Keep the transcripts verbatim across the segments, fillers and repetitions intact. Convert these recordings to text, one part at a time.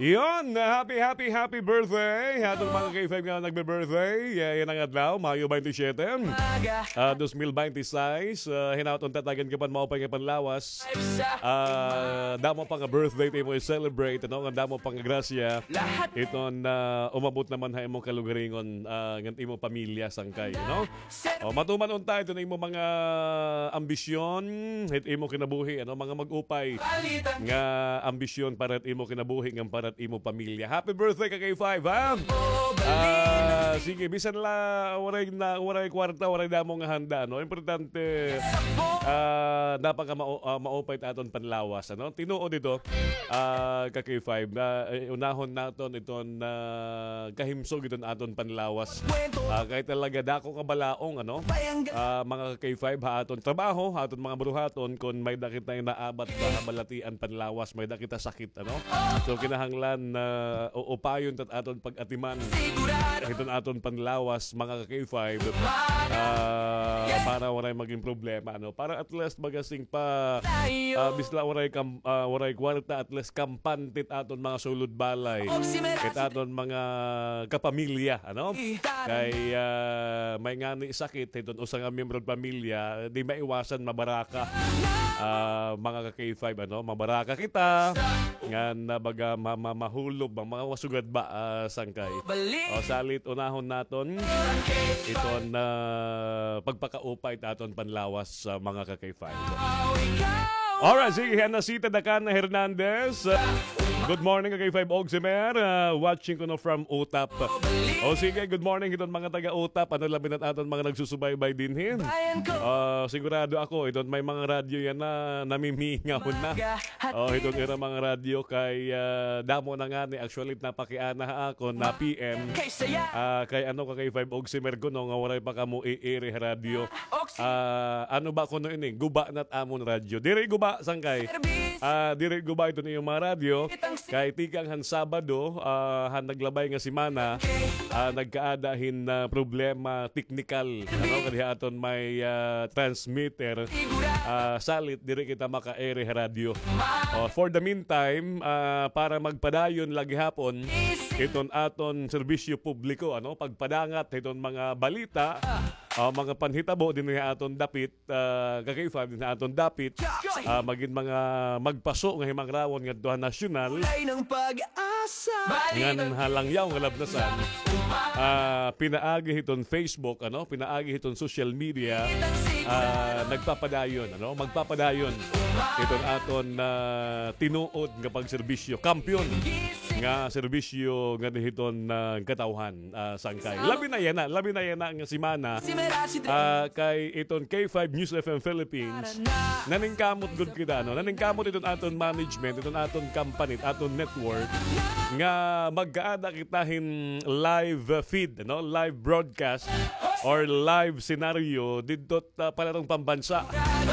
Yon, happy, happy, happy birthday ha aton mga K five nga nagbe-birthday. Yeah, yana nga adlaw, Mayo twenty-seven, ah, dos mil binte y seis. Ah, hinaot unta tagan ka pa hin maupay nga panlawas. Ah, damo pa nga birthday it imo i-celebrate, ano, nga damo pa nga grasya. Iton, ah, umabot naman ha imo kalugaringon, ah, ngan imo pamilya sangkay, no? O, matuman unta iton imo mga ambisyon, hit imo kinabuhi, ano, mga mag-upay nga ambisyon para hit imo kinabuhi ngan para hit imo pamilya. Happy birthday ka K five, ha? Ah, sige, bisan la waray na, waray kwarta, waray damo nga handa, no? Importante, ah, dapat ka mau-, ah, maupay it aton panlawas, ano? Tinuod ito, ah, ka K five, na, eh, unahon naton iton, ah, kahimsog iton aton panlawas. Ah, kay talaga dako kabalaong, ano? Ah, mga ka K five, ha aton trabaho, ha aton mga buruhaton, kon may-ada kita nga naabat sa balatian panlawas, may-ada kita sakit, ano? So, kinahanglan na uupayon ta it aton pag-atiman hiton aton panlawas, mga ka K five, ah, para waray magin problema, ano? Para at least baga sing pa, ah, bisan la waray kam-, ah, waray kwarta, at least kampante it aton mga sulod balay, it aton mga kapamilya, ano? Kay, ah, may ngani sakit hiton usa nga miyembro hin pamilya, di maiwasan mabaraka. Ah, mga ka K five, ano, mabaraka kita ngan, ah, baga ma-, ma-, mahulob ang mga sugad ba, ah, sangkay. O, salit unahon naton iton, ah, pagpakaupay it aton panlawas sa mga ka K five. Alright, sige, Hanasita Dakana Hernandez. Good morning, ka K five Ogsimer. Ah, watching kuno from Utap. O sige, good morning hiton mga taga Utap. Ano, labi na it aton mga nagsusubaybay dinhi. Ah, sigurado ako, iton may mga radyo yana namimingaw na. O, hiton ira mga radyo kay, ah, damo na ngani. Actually, napakiana ha akon na P M. Ah, kay ano, ka K five Ogsimer kuno nga waray pa kamo i-air ha radyo. Ah, ano ba kuno ini? Guba na it amon radyo. Diri guba, sangkay. Ah, diri guba iton iyo mga radyo. Kay tikang han Sabado, ah, han naglabay nga semana, ah, nagkaada hin, ah, problema teknikal, ano, kay ha aton may, ah, transmitter, ah, salit diri kita maka-air ha radyo. O, for the meantime, ah, para magpadayon la gihapon iton aton serbisyo publiko, ano, pagpadangat hiton mga balita, ah, mga panhitabo dinhi ha aton dapit, ah, ka K five dinhi ha aton dapit, ah, magin mga magpaso nga himangrawon ngadto ha nasyonal, ngan ha langyaw nga labnasan, ah, pinaagi hiton Facebook, ano, pinaagi hiton social media, ah, nagpapadayon, ano, magpapadayon iton aton, ah, tinuod nga pagserbisyo, kampiyon nga serbisyo nganhi hiton, ah, katawhan, ah, sangkay. Labi na yana, labi na yana nga semana, ah, kay iton K five News F M Philippines, naningkamot gud kita, no? Naningkamot iton aton management, iton aton company, it aton network, nga magkaada kita hin live, ah, feed, no? Live broadcast or live scenario didto ah, palarong pambansa.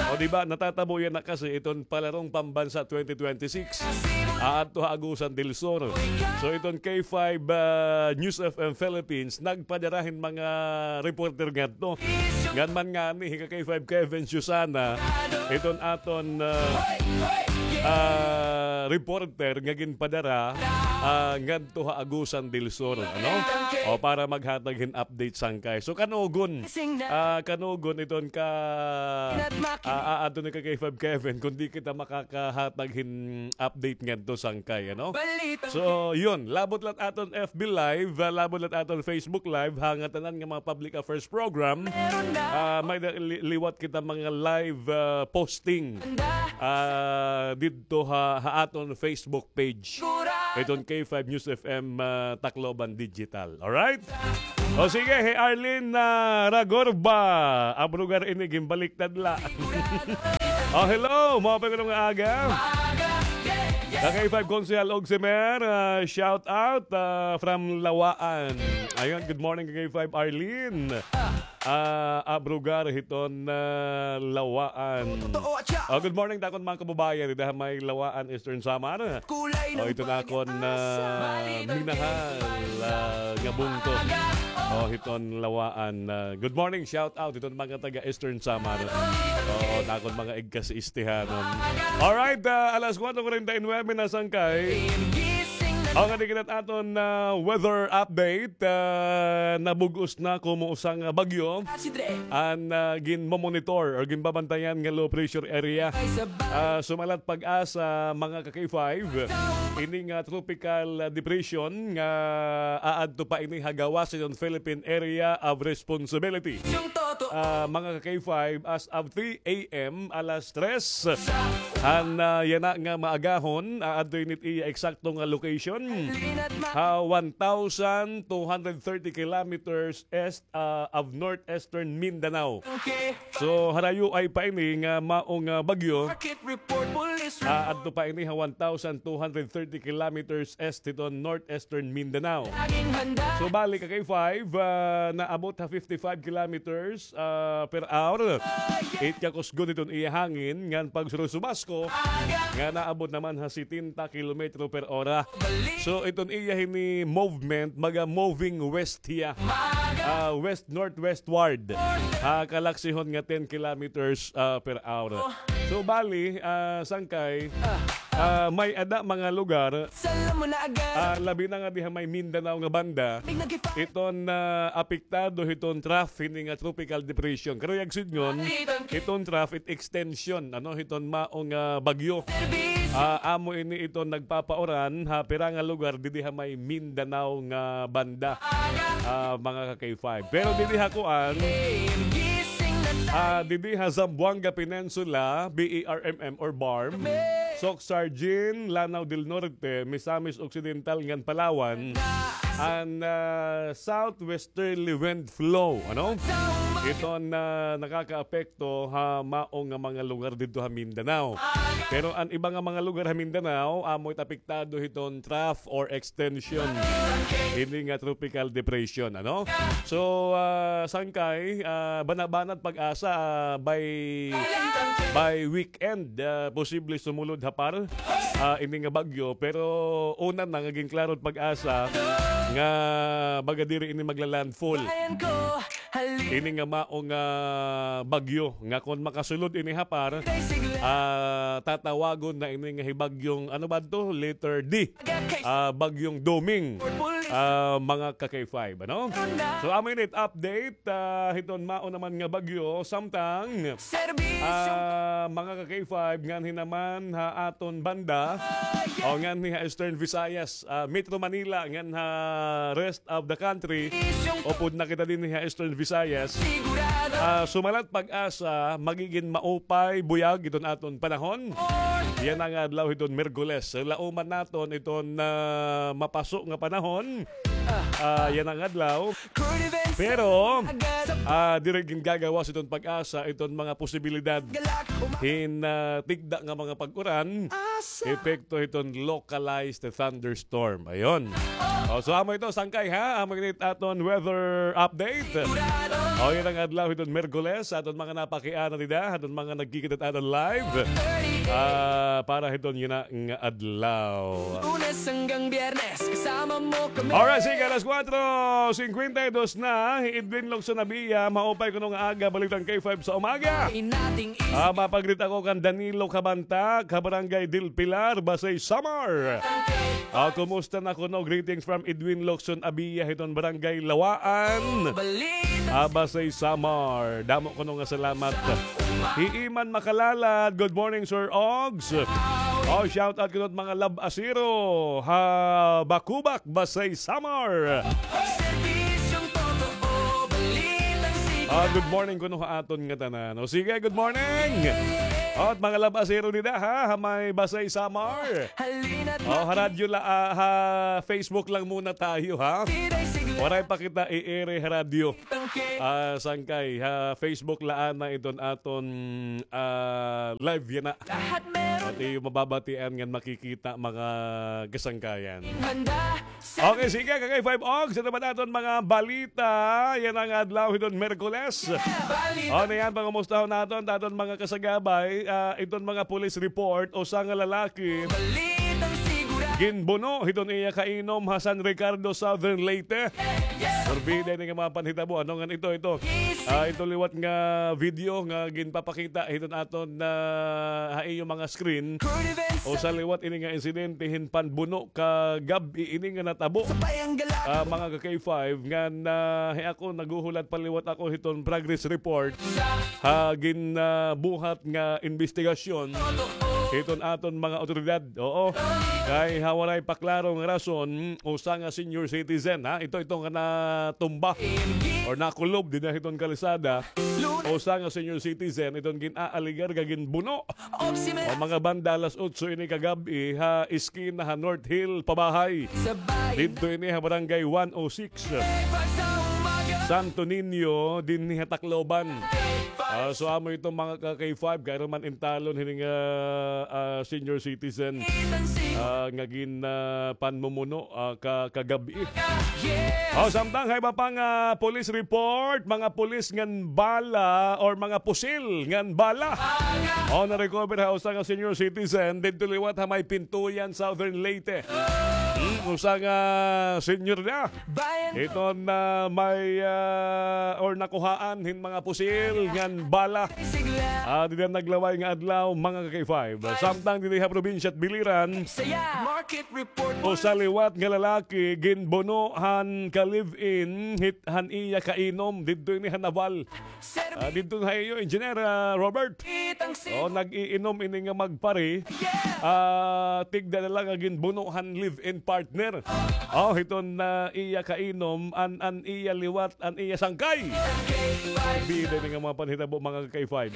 O, di ba, natatabo yana kasi iton palarong pambansa twenty twenty-six, ah, adto ha Agusan del Sur. So, iton K five, ah, News F M Philippines, nagpadara hin mga reporter ngadto. Ngan man ngani, hi ka K five Kevin Susana, iton aton, ah, ah, reporter nga ginpadara, ah, ngadto ha Agusan del Sur, ano? O, para maghatag hin update sangkay. So, kanugon, ah, kanugon iton ka, ah, ah, adto ni ka K five Kevin, kundi kita makakahatag hin update ngadto sangkay, ano? So, yun, labot la it aton F B Live, ah, labot la it aton Facebook Live, ha ngatanan nga mga public affairs program, ah, may da-, li-, liwat kita mga live, ah, posting, ah, didto ha, ha aton Facebook page. Iton K five News F M, ah, Tacloban Digital. Alright? O sige, hi Arlene, ah, Ragorba. Abrogar ini, ginbaliktad la. O, hello, maupay kuno nga aga. Ka K five Konsehal Ogsimer, ah, shout out, ah, from Lawaan. Ayun, good morning, ka K five Arlene. Ah, abrogar hiton, ah, Lawaan. Oh, good morning, takon mga kababayan, dida ha may Lawaan, Eastern Samar. Oh, iton akon, ah, minahal, ah, nga bungto. Oh, hiton Lawaan. Ah, good morning, shout out hiton mga taga Eastern Samar. Oh, takon mga igkasiistihanon. Alright, ah, alas kuwatro kuwarenta y nuwebe na sangkay. Aw, ngadi kita aton, ah, weather update. Ah, nabug-os na komo usa nga bagyo an, ah, ginmomonitor or ginbabantayan nga low pressure area. Ah, sumalat PAGASA, mga ka-K five, ini nga tropical, ah, depression nga aadto pa ini ha gawas hiton Philippine Area of Responsibility. Ah, mga ka-K five, as of three a m, alas tres, han, ah, yana nga maagahon, aadto ini it iya eksakto nga location ha one thousand two hundred thirty kilometers east, ah, of northeastern Mindanao. So, harayo ay pa ini nga maong, ah, bagyo. Ah, adto pa ini ha one thousand two hundred thirty kilometers east hiton northeastern Mindanao. So, bali, ka-K five, ah, naabot ha fifty-five kilometers, ah, per hour. It kakusgon hiton iya hangin ngan pagsurusubasko nga naabot naman ha setenta kilometro per ora. So, iton iya hini movement, maga-moving west hiya. Ah, west-northwestward. Ha kalaksihon nga ten kilometers, ah, per hour. So, bali, ah, sangkay, ah, may-ada mga lugar, ah, labi na nga diha may Mindanao nga banda, iton, ah, apektado hiton trough hini nga tropical depression. Karuyag sidngon, iton trough it extension, ano, hiton maong, ah, bagyo. Ah, amo ini iton nagpapauran ha pira nga lugar didi ha may Mindanao nga banda, ah, mga ka-K five. Pero didi ha kuan, ah, didi ha Zamboanga Peninsula, B A R M M or BARMM, Soc-Sargin, Lanao del Norte, Misamis Occidental ngan Palawan, an, ah, southwesterly wind flow, ano? Iton, ah, nakakaapekto ha maong nga mga lugar didto ha Mindanao. Pero an iba nga mga lugar ha Mindanao, amo it apektado hiton trough or extension hini nga tropical depression, ano? So, ah, sangkay, ah, banabanat PAGASA, ah, by, by weekend, ah, posible sumulod ha PAR, ah, ini nga bagyo. Pero una na nga ginklaro it PAGASA nga baga diri ini magla-landfall ini nga maong, ah, bagyo nga kon makasulod ini ha PAR, ah, tatawagon na ini nga hi bagyong, ano ba to? Letter D. Ah, Bagyong Doming. Ah, mga ka-K five, ano? So, amo ini it update, ah, hiton mao naman nga bagyo, samtang, ah, mga ka-K five, nganhi naman ha aton banda, o nganhi ha Eastern Visayas, ah, Metro Manila, ngan ha rest of the country, upod na kita dinhi ha Eastern Visayas. Ah, sumalat PAGASA, magigin maupay, buyag iton aton panahon yana nga adlaw hiton Miyerkules. Lauman naton iton, ah, mapaso nga panahon, ah, yana nga adlaw. Pero, ah, diri gingagawas iton PAGASA iton mga posibilidad hin, ah, tigda nga mga pag-uran, epekto hiton localized thunderstorm. Ayon. O, so amo ito, sangkay, ha? Amo ini it aton weather update. O, yana nga adlaw hiton Miyerkules, aton mga napakiana dida, aton mga nagkikita it aton live. Ah, para hiton yana nga adlaw. Lunes hanggang Biyernes, kasama mo kami. Alright, sige, alas kuwatro singkwenta y dos na. Hi Edwin Locson Abia, maupay kuno nga aga, Balitang K five sa umaga. Ah, mapag-greet ako kan Danilo Cabanta, ka Barangay Del Pilar, Basey, Samar. Ah, kumusta na kuno? Greetings from Edwin Locson Abia, hiton Barangay Lawaan. Ah, Basey, Samar. Damo kuno nga salamat. Hi Iman Makalalad, good morning, Sir Ogs. Oh, shout out kuno mga lab-asero ha Bakubak, Basey, Samar. Ah, good morning kuno ha aton ngatanan. O sige, good morning. At mga lab-asero dida, ha, ha may Basey, Samar. O, ha radyo la, ah, ha Facebook lang muna tayo, ha. Waray pa kita i-ere ha radyo. Ah, sangkay, ha Facebook la anay iton aton, ah, live yana. Pati iyo mababatian ngan makikita, mga kasangkayan. Okay, sige, ka-K five Ogs, ito ba naton mga balita yana nga adlaw hiton Miyerkules? O, niyan, pangumustahon naton, aton mga kasagabay, ah, iton mga police report, usa nga lalaki ginbuno hiton iya kainom ha San Ricardo, Southern Leyte. Porbida ini nga mga panhitabo, ano ngan ito, ito. Ah, ito liwat nga video nga ginpapakita hiton aton na ha iyo mga screen. Usa liwat ini nga insidente hin panbuno kagab-i ini nga natabo. Ah, mga ka-K five, ngan hi ako naghuhulat pa liwat ako hiton progress report ha ginbuhat nga imbestigasyon hiton aton mga awtoridad. Oo. Kay ha walay pa klaro nga rason, usa nga senior citizen, ha? Ito, ito nga natumba or nakulob dinhi hiton kalsada. Usa nga senior citizen, iton gin-aaligar nga ginbuno. O mga banda alas otso ini kagab-i ha eskina ha North Hill Pabahay. Didto ini ha Barangay one oh six. Santo Niño, dinhi ha Tacloban. Ah, so amo ito mga ka-K five, kay man intalon hini nga, ah, senior citizen, ah, nga gin, ah, panmumuno, ah, ka, kagab-i. O, samtang ha iba pa nga police report, mga pulis ngan bala or mga pusil ngan bala. O, na-recover ha usa nga senior citizen didto liwat ha may Pintuyan, Southern Leyte. Hmm, usa nga senior na. Iton may, ah, or nakuhaan hin mga pusil ngan bala. Ah, dida naglaway nga adlaw, mga ka-K five. Samtang didi ha probinsya hit Biliran, usa liwat nga lalaki ginbuno han ka-live-in hit han iya kainom didto ini ha Naval. Ah, didto ha iyo, Engineer, ah, Robert. O, nag-iinom ini nga magpari. Ah, tigda na la nga ginbuno han live-in partner. O, hiton, ah, iya kainom, an, an iya liwat, an iya sangkay. Bida ini nga mga panhitabo, mga ka-K five.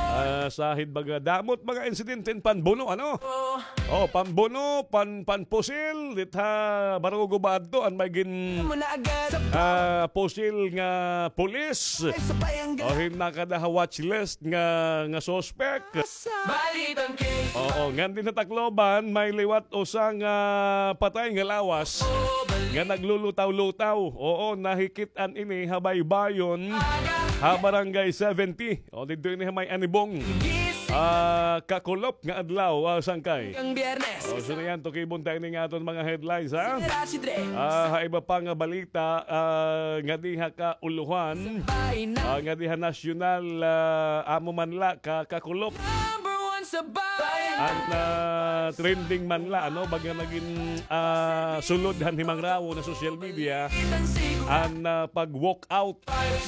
Ah, sahid baga, damo it mga insidente hin panbuno, ano? O, panbuno, pan, panpusil, dit ha Barugo ba adto, an may gin, ah, pusil nga pulis. O, hin nakada ha watch list nga, nga suspect. Oo, ngan dinhi ha Tacloban, may liwat usa nga patay nga lawas nga naglulutaw-lutaw. Oo, nahikit-an ini ha baybayon ha Barangay seventy. O, didto ini ha may Anibong. Ah, kakulop nga adlaw, ah, sangkay. O, so na yan, tukibon ta ini nga aton mga headlines, ha? Ah, ha iba pa nga balita, ah, ngadi ha kaulohan, ah, ngadi ha nasyonal, ah, amo man la ka, kakulop. An, ah, trending man la, ano, baga nagin, ah, sulod han himangrawon ha social media, an, ah, pag-walk out.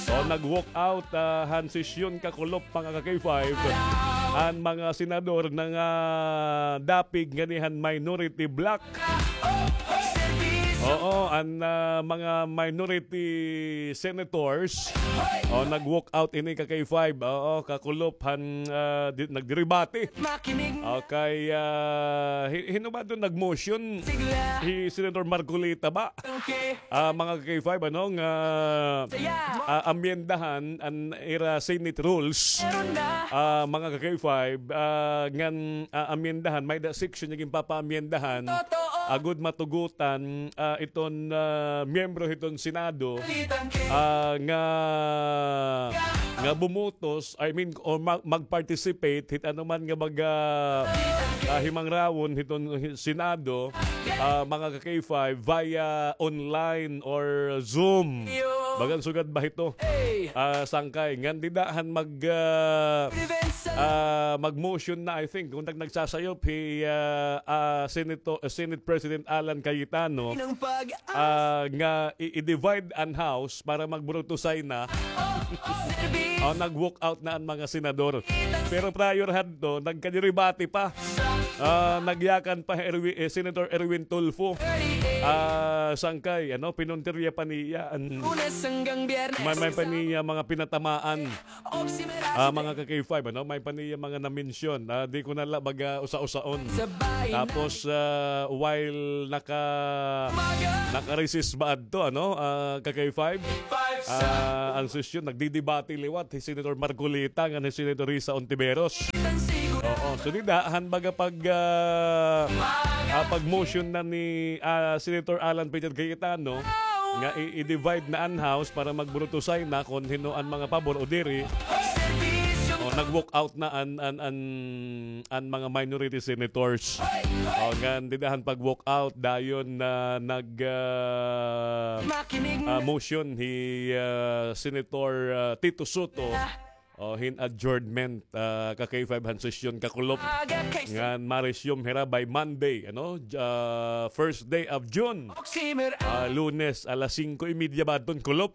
O, nag-walk out, ah, han sesyon kakulop, mga ka-K five, an mga senador nga dapig nganhi han minority bloc. Oo, an, ah, mga minority senators, o, nag-walk out ini, ka-K five. Oo, kakulop han, ah, di, nagdebate. Okay, ah, hi-, hin-o ba adto nag-motion? Hi Senator Marcoleta ba? Ah, mga ka-K five, ano, nga, ah, amyendahan an ira Senate rules. Ah, mga ka-K five, ah, ngan, ah, amyendahan, may-ada section nga ginpapaamyendahan. Agod matugotan, ah, iton, ah, miyembro hiton Senado, ah, nga, nga bumutos, I mean, o ma-, mag-participate hit ano man nga baga, ah, himangrawon hiton hi-, Senado, ah, mga ka-K five, via online or Zoom. Bagan sugad ba hito? Ah, sangkay. Ngan dida han mag, ah, ah, mag-motion na, I think, kun nag-, nagsasayop hi, ah, ah, Senato-, Senate President Alan Cayetano, ah, nga i-, i-divide an House para magburutusay na. O, nag-walk out na an mga senador. Pero prior hadto, nagkadebate pa. Ah, nagyakan pa Erwi-, eh, Senator Erwin Tulfo. Ah, sangkay, ano, pinuntirya pa niya an may, may pa niya mga pinatamaan. Ah, mga ka-K five, ano, may pa niya mga na-mention. Ah, di ko na la baga usa-usaon. Tapos, ah, while naka-, naka-recess ba adto, ano, ah, ka-K five? Ah, an sesyon, nagdidebate liwat hi Senator Marcoleta ngan hi Senator Risa Ontiveros. Oo, so dida han baga pag, ah, ah, pag-motion na ni, ah, Senator Alan Peter Cayetano nga i-, i-divide na an House para magburutusay na kon hin-o an mga pabor o diri. O, Nag-walk out na an, an, an, an mga minority senators. O, ngan dida han pag-walk out, dayon na nag, ah, ah, motion hi, ah, Senator, ah, Tito Soto. O, hin adjournment, ah, ka K five han sesyon kakulop. Ngan ma-resume hira by Monday, ano? J-, ah, first day of June. Ah, Lunes, alas singko y media ba adton kulop?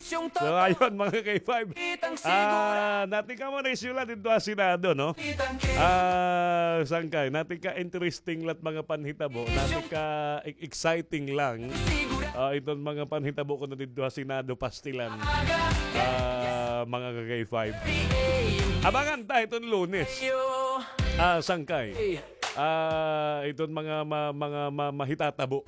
So, ayun, mga ka K five. Ah, natin ka mo na isyu la dito ha Senado, no? Ah, sangkay, natin ka interesting lat mga panhitabo, natin ka e-, exciting lang. Ah, iton mga panhitabo kuno dito ha Senado, pastilan. Ah, mga ka K five. Abangan ta iton Lunes. Ah, sangkay. Ah, iton mga ma-, mga ma-, mahitatabo.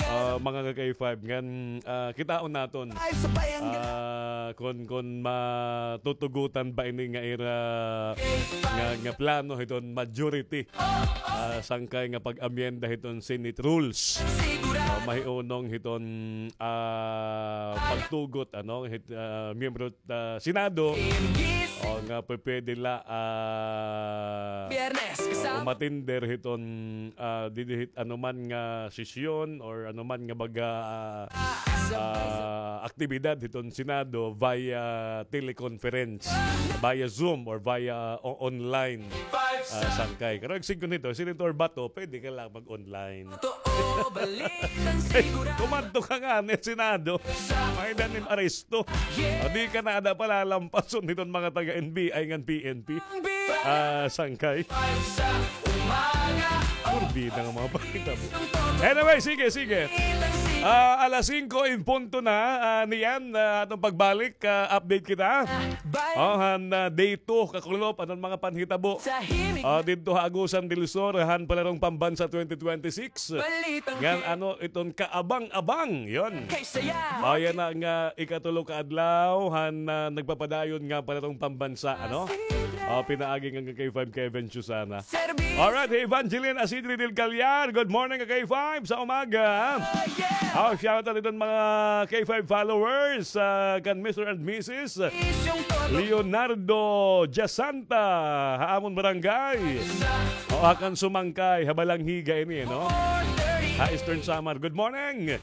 Ah, mga ka K five, ngan, ah, kitaon naton. Ah, kon, kon matutugutan ba ini nga ira nga, nga plano hiton majority. Ah, sangkay nga pag-amyenda hiton Senate rules. Ah, mahiunong hiton, ah, pagtugot, ano, hit, ah, miyembro ah, Senado, o, nga pwede la, ah, o, umatender hiton, ah, didi hit anuman nga sesyon or anuman nga baga, ah, ah, aktibidad hiton Senado via teleconference, via Zoom or via o-, online, ah, sangkay. Pero igsigkon hito, Senator Bato, pwede ka la mag-online. Kumadto ka ngani ha Senado. May danim aresto. O, di ka na ada palalampason hiton mga taga-N B I ngan P N P. Ah, sangkay. Purbi na nga mga panghitabo. Anyway, sige, sige. Ah, alas singko in punto na, ah, niyan, ah, aton pagbalik, ah, update kita. O, han, ah, day two, kakulop, aton mga panhitabo. Ah, didto ha Agusan del Sur, han Palarong Pambansa twenty twenty-six. Ngan ano iton kaabang-abang, yon. O, yana nga ikatulo ka adlaw, han, ah, nagpapadayon nga Palarong Pambansa, ano? O, pinaagi nga kay Five Kevin Chusana. Alright, Evangeline Asidri del Callar, good morning, K five, sa umaga. O, shout out iton mga K five followers, ah, kan Mister and Missus Leonardo Jasanta, ha amon barangay. O, ha kan Sumangkay, ha Balangiga ini, no? Ha Eastern Samar. Good morning.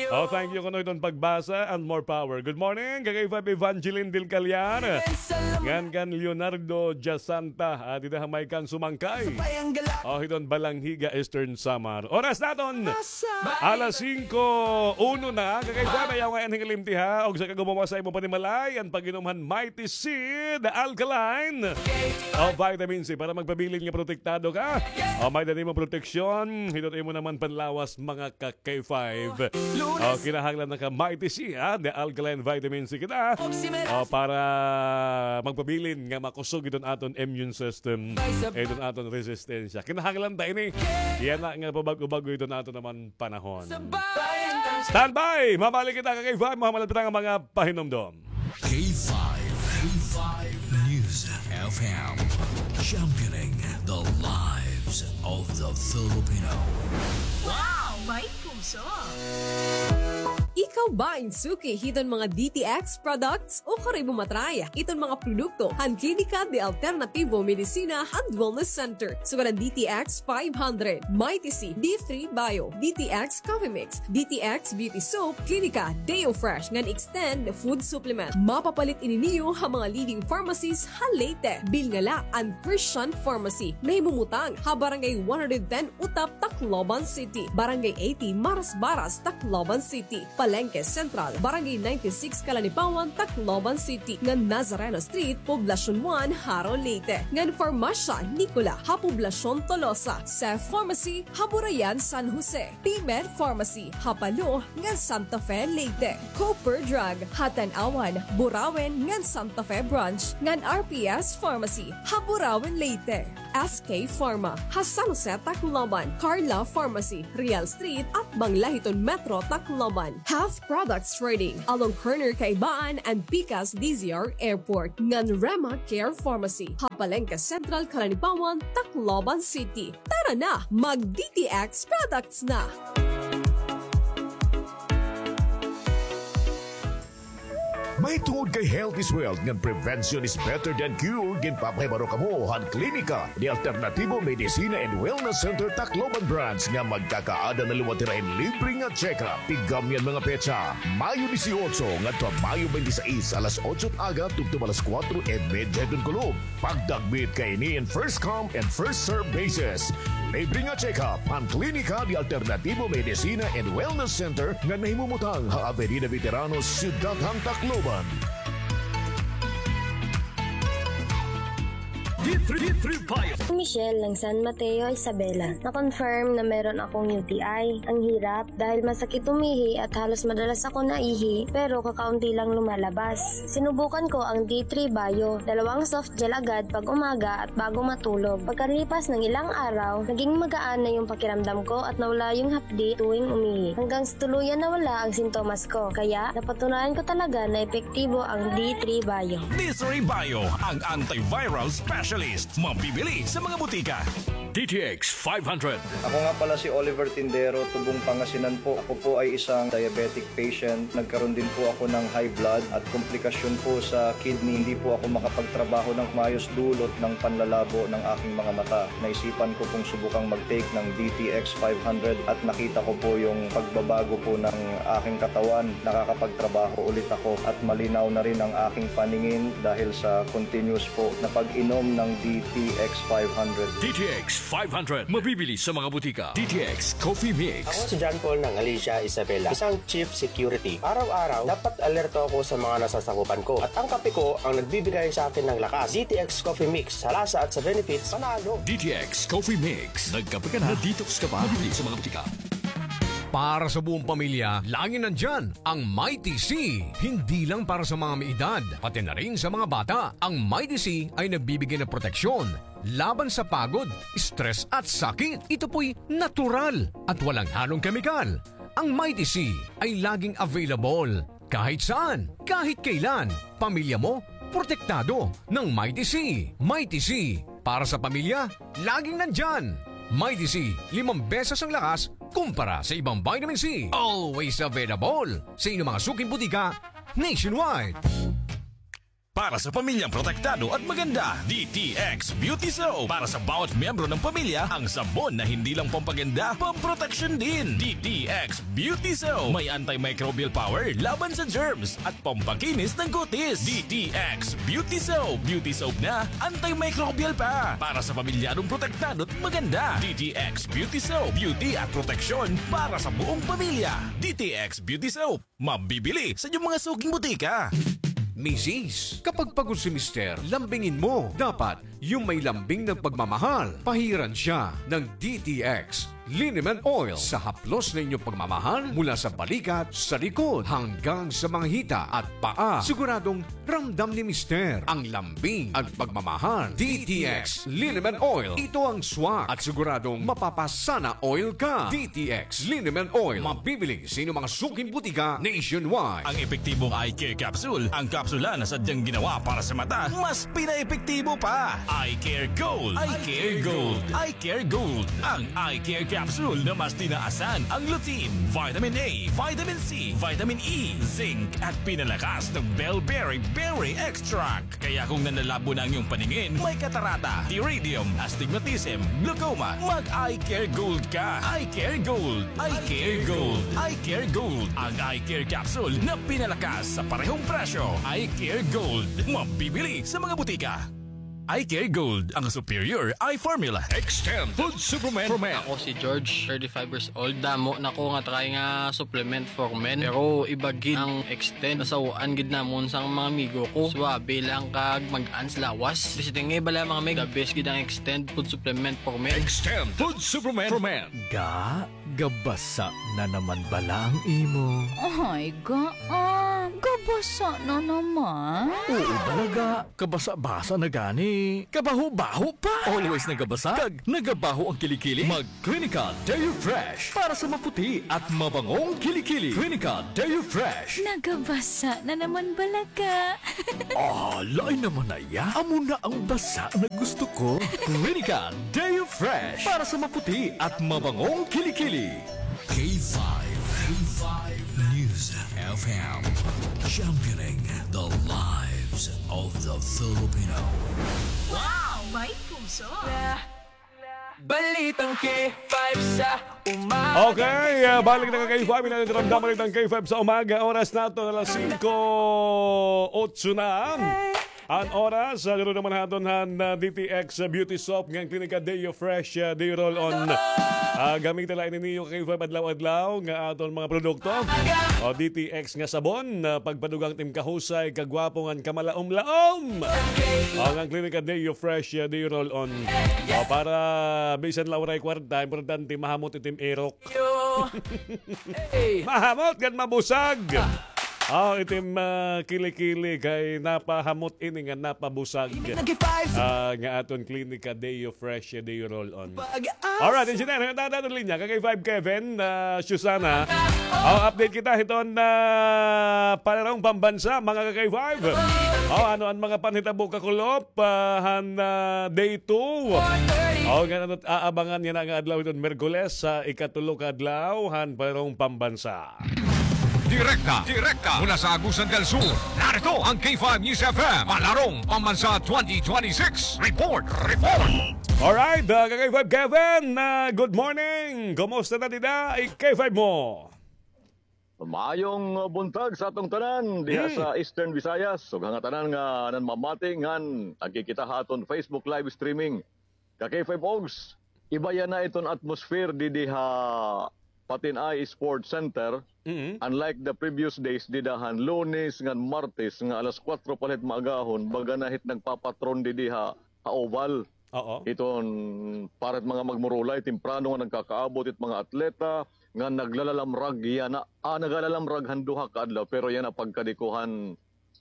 O, thank you kuno iton pagbasa and more power. Good morning, K five Evangeline del Callar. Ngan kan Leonardo Jasanta, ah, dida ha may kan Sumangkay. O, hiton Balangiga, Eastern Samar. Oras naton, alas singko uno na. Kakaiba na yaw ngay-an hin kalimti, ha. Og sa kagumawasa imo panimalay, an pag-inom han Mighty Seed Alkaline. O, vitamin C para magpabilin nga protektado ka. O, may-ada nimo proteksyon. Hiton imo naman panlawas, mga ka K five. O, kinahanglan na ka Mighty C, ha? The Alkaline Vitamin C kita. O, para magpabilin nga makusog iton aton immune system. Iton aton resistensya. Kinahanglan ta ini. Yana nga pabag-o-bag-o iton aton naman panahon. Standby! Mabalik kita, K five. Mahuman la pa nga mga pahinumdom. K five, K five News F M, championing the lives of the Filipino. Wow! May puso! Ikaw ba in suki hiton mga D T X products? O kari mo matry iton mga produkto han Klinika de Alternativo Medicina and Wellness Center. Sugad an D T X five hundred, Mighty C, D three Bio, D T X Coffee Mix, D T X Beauty Soap, Klinika, Deo Fresh, ngan Extend Food Supplement. Mapapalit ini niyo ha mga leading pharmacies ha Leyte. Bilnga la an Christian Pharmacy, nahimumutang ha Barangay one hundred ten Utap, Tacloban City, Barangay eighty Marasbaras, Tacloban City, Palengke Central, Barangay ninety-six Calanipawan, Tacloban City, ngan Nazareno Street, Poblacion one, Jaro, Leyte, ngan Farmasya Nicola ha Poblacion Tolosa, Seth Pharmacy ha Burayan, San Jose, Pimer Pharmacy ha Palo ngan Santa Fe, Leyte, Cooper Drug ha Tanauan, Burauen ngan Santa Fe Branch, ngan R P S Pharmacy ha Burauen, Leyte. S K Pharma ha San Jose, Tacloban, Carla Pharmacy, Real Street, atbang la hiton Metro Tacloban. Have Products Trading, along corner Kaibaan and Pikas D Z R Airport, ngan Rema Care Pharmacy ha Palengke Central, Calanipawan, Tacloban City. Tara na, mag D T X products na! Ay tungod kay health is wealth ngan prevention is better than cure, ginpapahibaro kamo han Klinika de Alternativo Medicina and Wellness Center Tacloban Branch nga magkakaada na liwat hira hin libre nga check-up. Tigam niyan mga petsa, Mayo dieciocho ngadto ha Mayo twenty-six, alas otso aga tubtob alas kuwatro y medya hiton kulop. Pagdagmit kaini in first come and first serve basis. Libre nga check-up han Klinika de Alternativo Medicina and Wellness Center nga nahimumutang ha Avenida Veterano, Syudad han Tacloban. D three, D three Bio. Michelle ng San Mateo, Isabela. Na-confirm na meron akong U T I. Ang hirap dahil masakit umihi at halos madalas ako naihi, pero kakaunti lang lumalabas. Sinubukan ko ang D three Bio, dalawang soft gel agad pag umaga at bago matulog. Pagkalipas ng ilang araw, naging magaan na yung pakiramdam ko at nawala yung hapdi tuwing umihi. Hanggang sa tuluyan nawala ang sintomas ko. Kaya, napatunayan ko talaga na epektibo ang D three Bio. D three Bio, ang antiviral specialist. Mabibili sa mga butika. D T X five hundred. Ako nga pala si Oliver Tindero, Tubong, Pangasinan po. Ako po ay isang diabetic patient. Nagkaroon din po ako ng high blood at komplikasyon po sa kidney. Hindi po ako makapagtrabaho ng maayos dulot ng panlalabo ng aking mga mata. Naisipan ko pong subukang mag-take ng D T X five hundred at nakita ko po yung pagbabago po ng aking katawan. Nakakapagtrabaho ulit ako at malinaw na rin ang aking paningin dahil sa continuous po na pag-inom ng D T X five hundred. D T X five hundred, mabibili sa mga butika. D T X Coffee Mix. Ako si John Paul ng Alicia, Isabela, isang chief security. Araw-araw, dapat alerto ako sa mga nasasakupan ko. At ang kape ko ang nagbibigay sa akin ng lakas. D T X Coffee Mix, sa lasa at sa benefits, panalo. D T X Coffee Mix. Nagkape ka na, na-detox ka pa. Mabibili sa mga butika. Para sa buong pamilya, laging nandiyan ang Mighty C. Hindi lang para sa mga may edad, pati na rin sa mga bata. Ang Mighty C ay nagbibigay ng proteksyon laban sa pagod, stress at sakit. Ito po'y natural at walang halong kemikal. Ang Mighty C ay laging available kahit saan, kahit kailan. Pamilya mo, protektado ng Mighty C. Mighty C, para sa pamilya, laging nandiyan. Mighty C, limang beses ang lakas kumpara sa ibang vitamin C. Always available sa inyong mga suking butika nationwide. Para sa pamilyang protektado at maganda, D T X Beauty Soap. Para sa bawat miyembro ng pamilya, ang sabon na hindi lang pampaganda, pamproteksyon din. D T X Beauty Soap. May antimicrobial power laban sa germs at pampakinis ng kutis. D T X Beauty Soap. Beauty soap na, antimicrobial pa. Para sa pamilyadong protektado at maganda. D T X Beauty Soap. Beauty at proteksyon para sa buong pamilya. D T X Beauty Soap. Mabibili sa inyong mga suking butika. Misis, kapag pagod si Mister, lambingin mo. Dapat yung may lambing ng pagmamahal. Pahiran siya ng D T X Liniment Oil. Sa haplos na inyong pagmamahal, mula sa balikat, sa likod, hanggang sa mga hita at paa, siguradong ramdam ni Mister ang lambing at pagmamahal. D T X Liniment Oil. Ito ang swak at siguradong mapapasana oil ka. D T X Liniment Oil. Mabibili sa inyong mga suking butika nationwide. Ang epektibong eye care capsule, ang kapsula na sadyang ginawa para sa mata, mas pinaepektibo pa. Eye Care Gold. Eye Care Gold. Eye Care Gold. Ang Eye Care Capsule na mas tinaasan ang lutein, vitamin A, vitamin C, vitamin E, zinc, at pinalakas ng bellberry berry extract. Kaya kung nanlalabo na ang iyong paningin, may katarata, pterygium, astigmatism, glaucoma, mag-Eye Care Gold ka. Eye Care Gold. Eye Care Gold. Eye Care Gold. Ang Eye Care Capsule na pinalakas sa parehong presyo. Eye Care Gold. Mabibili sa mga butika. Eye Care Gold, ang superior eye formula. Extend Food Supplement for Men. Ako si George, thirty-five years old. Damo na ko nga try nga supplement for men. Pero iba gid ang Extend. Nasaw-an gid namon sa mga amigo ko. Suwabe lang kag mag-ans lawas. Basta nga bala, mga mig, the best gid ang Extend Food Supplement for Men. Extend Food Supplement for Men. Ga, gabasa na naman bala ang imo. Ay, ga, ah, gabasa na naman. Oo, bala, ga. Kabasa-basa na gani. Kabaho-baho pa. Always nagabasa. Kag nagabaho ang kilikili. Mag Clinical Deo Fresh para sa maputi at mabangong kilikili. Clinical Deo Fresh. Nagabasa na naman bala ka. Ah, lain naman na iya. Amo na ang basa na gusto ko. Clinical Deo Fresh para sa maputi at mabangong kilikili. K five. K five News. F M, championing the lives of the Filipino. Wow! May puso! Balitang K five sa umaga. Okay, ah, balik na ka K five, ini an Ramdam Balitang K five sa umaga. Oras naton alas singko otso na. An oras, ah, garo naman haton han, ah, D T X, ah, Beauty Soap ngan Klinika Deo Fresh, ah, Deo Roll-On. Ah, gamita la ini niyo K five adlaw-adlaw nga aton mga produkto. O, D T X nga sabon, ah, pagpadugang tim kahusay, kagwapo ngan kamalaom-laom. O, ngan Klinika Deo Fresh, ah, Deo Roll-On. O, para bisan la waray kwarta, importante mahamot itim irok. Yo. Hey. Mahamot ngan mabusag. Ah. O, itim, ah, kili-kili kay napahamot ini nga napabusag. Imig nag-five. Ah, nga aton Klinika Deo Fresh, Deo Roll-On. Pag-asa. Alright, engineer, hangyo ta han linya. Ka K five Kevin, ah, Susana. O, update kita hiton, ah, Palarong Pambansa, mga ka K five. O, ano an mga panhitabo kakulop, ah, han, ah, day two. O, ngan ano it aabangan yana nga adlaw hiton Miyerkules, sa ikatulo ka adlaw han Palarong Pambansa. Direkta, direkta mula sa Agusan del Sur. Narito ang K five News F M, Palarong Pambansa twenty twenty-six. Report, report. Alright, ah, ka K five Kevin, ah, good morning. Kumusta na dida, K five mo? Maayong buntag sa aton tanan diha, hmm, sa Eastern Visayas. Ug ha ngatanan nga nanmamati ngan nagkikita ha aton Facebook live streaming. Ka K five Ogs, iba yana iton atmosphere didi ha Patinay Sports Center. Mm-hmm. Unlike the previous days, dida han Lunes ngan Martes nga alas kuwatro pa la hit maagahon, baga na hit nagpapatron didi ha, ha Oval. Oo. Iton para hit mga magmurulay, temprano nga nagkakaabot it mga atleta nga naglalalamrag yana. Ah, nagalalamrag han duha ka adlaw, pero yana pagkadikuhan.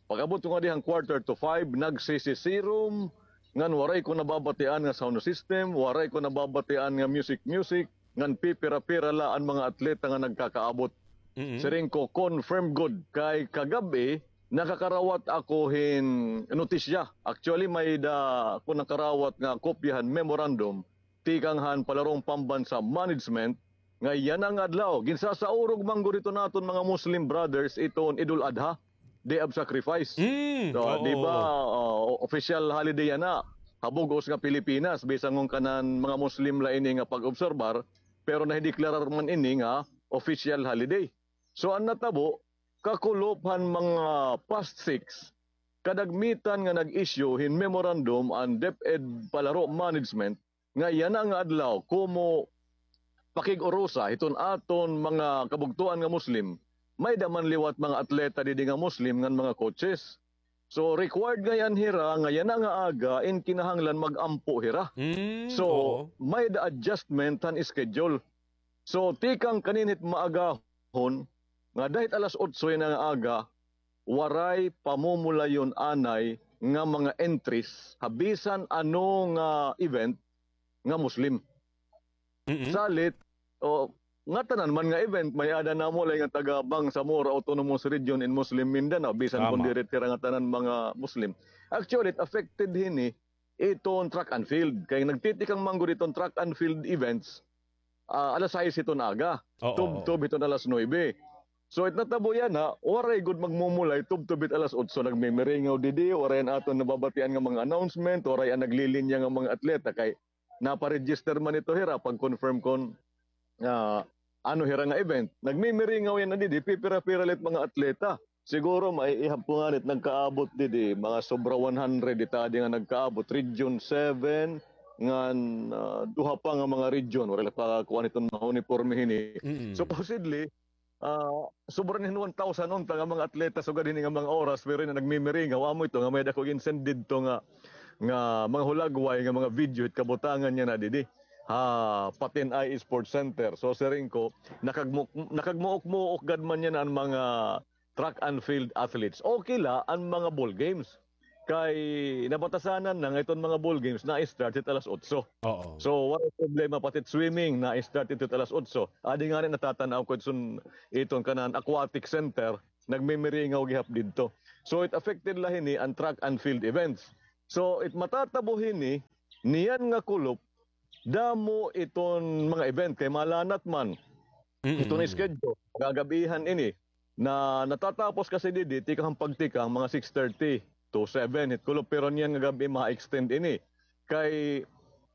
Pag-abot ko ngadi han quarter to five, nagsisisirom, ngan waray ko nababatian nga sound system, waray ko nababatian nga music-music, ngan pipira-pira la an mga atleta nga nagkakaabot. Mm-mm. Siring ko, confirm gud. Kay kagab-i, nakakarawat ako hin notisya. Actually, may-ada ako nakarawat nga kopya han memorandum tikang han Palarong Pambansa Management nga yana nga adlaw, ginsasaurog man gud iton aton mga Muslim brothers iton Idul Adha, Day of Sacrifice. Mm, so, oo, di ba, ah, official holiday yana ha bug-os nga Pilipinas, bisan ngon kanan mga Muslim la ini nga pag-obserbar, pero nahideklarar man ini nga official holiday. So, an natabo, kakulop han mga past six, kadagmitan nga nag-issue hin memorandum an DepEd Palaro Management nga yana nga adlaw, komo pakig-urusa hiton aton mga kabugtoan nga Muslim, may-ada man liwat mga atleta didi nga Muslim ngan mga coaches. So, required ngay-an hira nga yana nga aga in kinahanglan mag-ampo hira. Mm, so, oo, may-ada adjustment han schedule. So, tikang kaninhit maagahon, nga dahit alas otso yana nga aga, waray pamumulayon anay nga mga entries ha bisan ano nga event nga Muslim. Mm-mm. Salit, o, ngatanan man nga event, may-ada namulay nga taga Bangsamoro Autonomous Region in Muslim Mindanao, bisan kon diri it hira ngatanan mga Muslim. Actually, it affected hini iton track and field. Kay nagtitikang man gud iton track and field events, ah, alas sais hiton aga. Oo, tubtob hiton alas nuebe. So, it natabo yana, waray gud magmumulay, tubtob hit alas otso, nagmimiringaw didi, waray an aton nababatian nga mga announcement, waray an naglilinya nga mga atleta, kay napa-register man ito hira, pag-confirm kon, ah, ano hira nga event. Nagmimiringaw yana didi, pipira-pira la it mga atleta. Siguro, maiihap ko ngani it nagkaabot didi, mga sobra one hundred it adi nga nagkaabot. Region seven, ngan, ah, duha pa nga mga region. Waray la pa kuan iton mga uniporme hini. Mm. Supposedly, ah, sobra hin one thousand unta nga mga atleta sugad hini nga mga oras, pero yana nagmimiringaw. Amo ito nga may-ada ko gin-send didto nga, nga mga hulagway nga mga video hit kabutangan yana didi ha Patinay Sports Center. So, siring ko, nakagmu-, nakagmuok-muok gad man yana an mga track and field athletes. Okay la an mga ball games. Kay nabatasanan na nga iton mga ball games na-start hit alas otso. Oo. So, waray problema pati it swimming, na-start hit alas otso. Adi ngani natatan-aw ko iton, iton kanan aquatic center, nagmimiringaw gihap didto. So, it affected la hini an track and field events. So, it matatabo hini, niyan nga kulop, damo iton mga event kay malanat man. Mm-mm. Iton schedule, gagab-ihan ini. na natatapos kasi didi, tikang pagtikang, mga six thirty to seven, hit kulop, pero niyan nga gab-i ma-extend ini. Kay,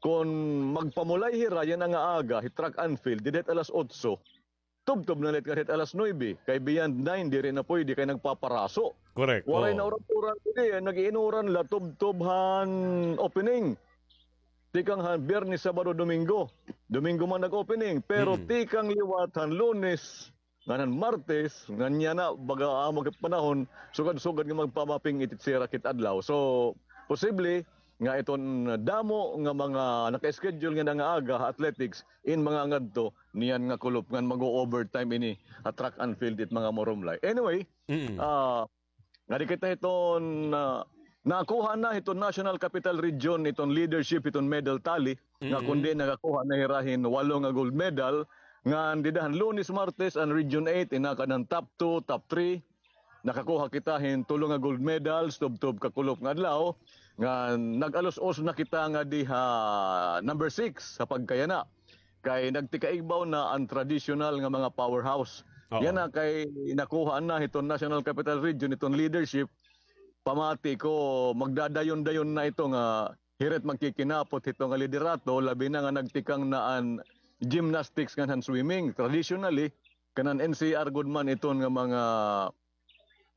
kon magpamulay hira, yana nga aga, hit track and field, didi hit alas otso, tubtob na la it ngan hit alas nuebe, kay beyond nine, diri na puyde, kay nagpaparaso. Correct. Waray na uran-uran, didi, eh, nag-iinuran la, tubtob han opening. Tikang han Biyernes, Sabado, Domingo. Domingo man nag-opening, pero tikang liwat han Lunes, ngan han Martes, ngan yana, baga amo kit panahon, sugad-sugad nga magpamaping-it it sirak hit adlaw. So, posible nga iton damo nga mga naka-schedule nga nga aga ha athletics, in mga ngadto, niyan nga kulop ngan mag-o-overtime ini ha track and field it mga marumlay. Anyway, ah, ngadi kita hiton, ah, nakuha na hiton National Capital Region iton leadership hiton medal tally, nga kundi nakakuha na hira hin walo nga gold medal, ngan dida han Lunes, Martes, an Region eight, inakad han top two, top three, nakakuha kita hin tulo nga gold medals, tubtob kakulop nga adlaw, ngan nag-alos-os na kita ngadi ha number six ha pagkayana. Kay nagtikaigbaw na an traditional nga mga powerhouse. Oo. Yana kay nakuha na hiton National Capital Region, hiton leadership. Pamati ko, magdadayon-dayon na ito nga hira it magkikinapot hito nga liderato, labi na nga nagtikang na an gymnastics ngan han swimming. Traditionally, kanan N C R gud man iton nga mga,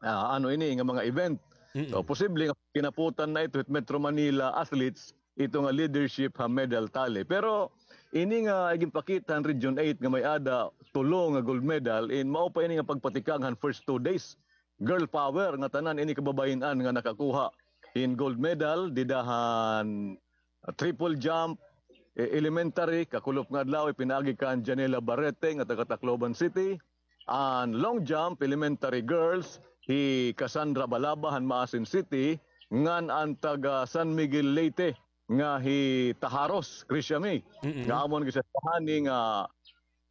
ah, ano ini, nga mga event. So, posible nga kinaputan na ito hit Metro Manila athletes, ito nga leadership ha medal tally. Pero ini nga ginpakita han Region eight nga may-ada tulo nga gold medal, in mao pa ini nga pagpatikang han first two days. Girl power nga tanan ini kababayin-an nga nakakuha hin gold medal dida han triple jump, eh, elementary, kakulop nga adlaw, ipinaagi kan Janela Barrete nga taga Tacloban City. An long jump, elementary girls, hi Cassandra Balaba han Maasin City, ngan an taga San Miguel Leyte nga hi Taharos, Krisha May. Mm-mm. Nga amo an gisasahani nga,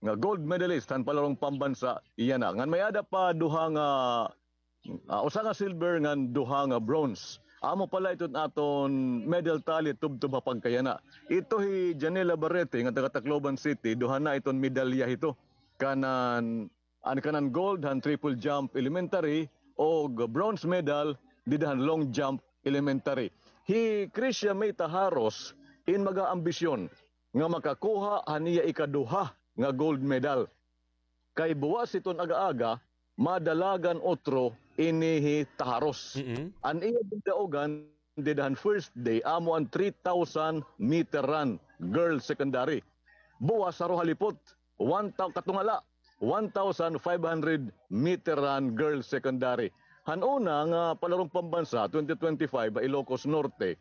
nga gold medalist han palarong pambansa, iya na. Ngan may-ada pa duha nga, ah, usa nga silver ngan duha nga bronze. Amo pala iton aton medal tally tubtob ha pagkayana. Ito hi Janela Barrete nga taga Tacloban City, duha na iton medalya hito. Kanan, an kanan gold han triple jump elementary o bronze medal dida han long jump elementary. Hi Krisha May Taharos in mag-aambisyon nga makakuha han iya ikaduha nga gold medal. Kay buwas hiton aga-aga, madalagan utro ini hi Taharos. Mm-mm. An iya gindaugan dida han first day, amo an three thousand meter run, girls secondary. Buwas, haro ha lipot, one thou-, katungala, one thousand five hundred meter run, girls secondary. Han una nga palarong pambansa, twenty twenty-five, ha Ilocos Norte,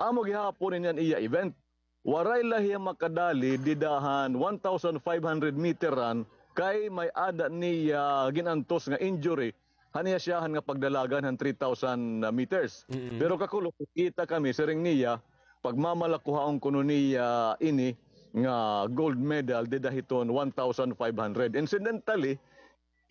amo gihapon ini an iya event. Waray la hiya makadali dida han one thousand five hundred meter run kay may-ada niya gin-antos nga injury han iya siyahan nga pagdalagan han three thousand meters. Mm-mm. Pero kakulop, kita kami, siring niya, pagmamalakuhaon kuno niya ini nga gold medal dida hiton one thousand five hundred. Incidentally,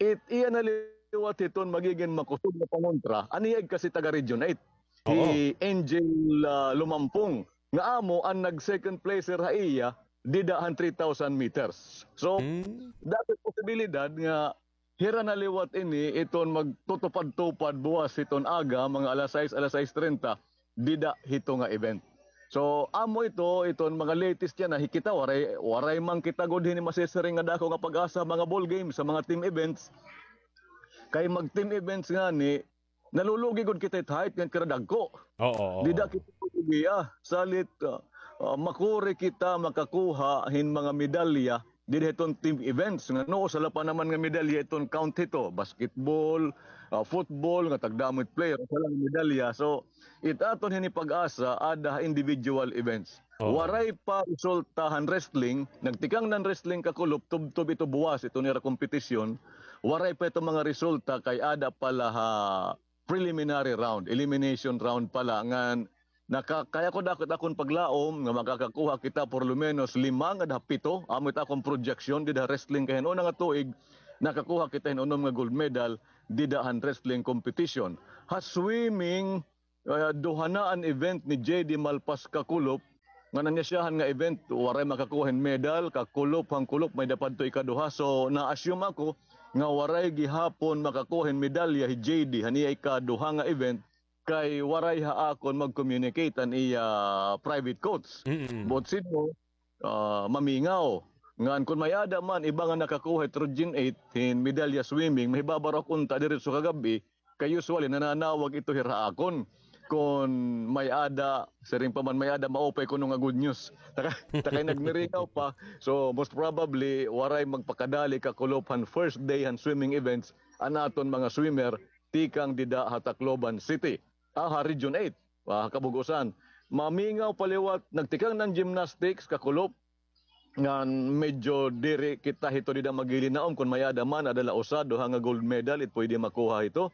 it iya na liwat hiton magigin makusog nga pangontra, an iya igkasi taga Region eight. Oo. Hi Angel, ah, Lumampong, nga amo an nag-second placer ha iya, dida han three thousand meters. So, hmm, dako posibilidad nga hira na liwat ini iton magtutupad-tupad buwas hiton aga, mga alas sais, alas sais trenta, dida hito nga event. So, amo ito, iton mga latest yana, hi kita, waray, waray man kita gud hini masisiring nga dako nga pag-asa, mga ball games, sa mga team events. Kay mag-team events ngani, nalulugi gud kita hit height ngan kira dagko. Oo, oo. Dida kita lugi, ah, salit, ah, ah, makuri kita makakuha hin mga medalya dida hiton team events. Ngano, usa la pa naman nga medalya iton count hito, basketball, ah, football, nga tagdamo it player, usa la nga medalya. So, it aton hini pag-asa, ada ha individual events. Oo. Waray pa resulta han wrestling, nagtikang na an wrestling kakulop, tubtob ito buwas, iton ira kompetisyon, waray pa ito mga resulta kay ada pa la ha preliminary round, elimination round pa la, ngan naka-, kay ako dako it akon paglaom nga makakakuha kita por lo menos lima ngada ha pito, amo it akon projection dida ha wrestling kay han una nga tuig, nakakuha kita hin unom nga gold medal dida han wrestling competition. Ha swimming, ah, duha na an event ni J D Malpas kakulop, ngan an iya siyahan nga event, waray makakuha hin medal, kakulop han kulop, may-ada pa adto ikaduha. So, na-assume ako nga waray gihapon makakuha hin medalya hi J D han iya ikaduha nga event, kay waray ha akon mag-communicate an iya private coach. Mm-mm. Buot sidngo, ah, mamingaw. Ngan kon may-ada man iba nga nakakuha hit Region eight hin medalya swimming, mahibabaro ak unta diretso kagab-i, kay usually nananawag ito hira ha akon. Kon may-ada, siring pa man may-ada, maupay kuno nga good news. Ta kay, ta kay nagmiringaw pa. So, most probably, waray magpakadali kakulop han first day han swimming events an aton mga swimmer tikang dida ha Tacloban City. Ah, ha Region eight, ah, kabug-osan. Mamingaw pa liwat, nagtikang na an gymnastics, kakulop, ngan medyo diri kita hito dida magilinaom kon may-ada man, ada la usa, duha nga gold medal, it pwede makuha hito.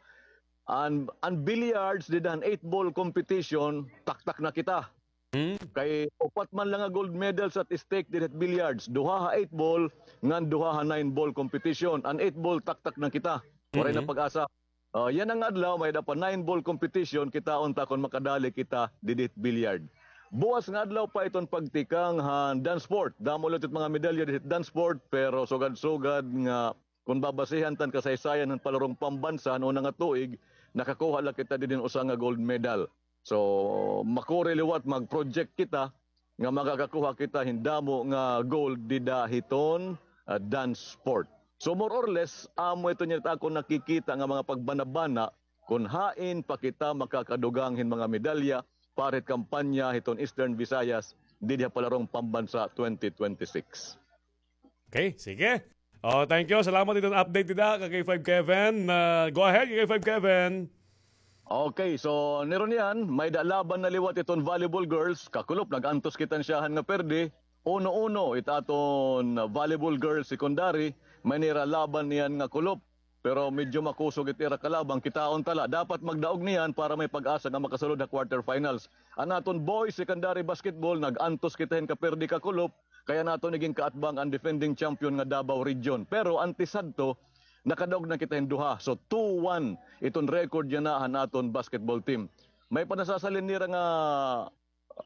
An, an billiards dida han eight ball competition, taktak na kita. Hmm? Kay upat man la nga gold medals at stake dida hit billiards, duha ha eight ball, ngan duha ha nine ball competition. An eight ball, taktak na kita. Waray na pag-asa. Ah, yana nga adlaw, may-ada pa nine ball competition, kitaon ta kon makadali kita didi hit billiard. Buas nga adlaw pa iton pagtikang han dance sport. Damo liwat it mga medalya didi hit dance sport, pero sugad-sugad nga kon babasihan ta an kasaysayan han palarong pambansa han una nga tuig, nakakuha la kita didi hin usa nga gold medal. So, makuri liwat mag-project kita nga makakakuha kita hin damo nga gold dida hiton, ah, dance sport. So, more or less, amo iton yana it akon nakikita nga mga pagbanabana kon hain pa kita makakadugang hin mga medalya para hit kampanya hiton Eastern Visayas didi ha Palarong Pambansa twenty twenty-six. Okay, sige. Oh, thank you. Salamat iton update dida, ka K five Kevin. Ah, go ahead, ka K five Kevin. Okay, so niron niyan, may-ada laban na liwat iton volleyball girls. Kakulop, nag-antos kita hin siyahan nga perdi. Uno uno, it aton volleyball girls secondary, may nira laban niyan nga kulop. Pero medyo makusog it ira kalaban, kitaon ta la. Dapat magdaog niyan para may pag-asa nga makasulod ha quarterfinals. An aton boys secondary basketball, nag-antos kita hin kaperdi, kakulop, kay an aton iginkaatbang an defending champion nga Davao Region. Pero antes hadto, nakadaog na kita hin duha. So, two one iton record yana han aton basketball team. May pa nasasalin nira nga,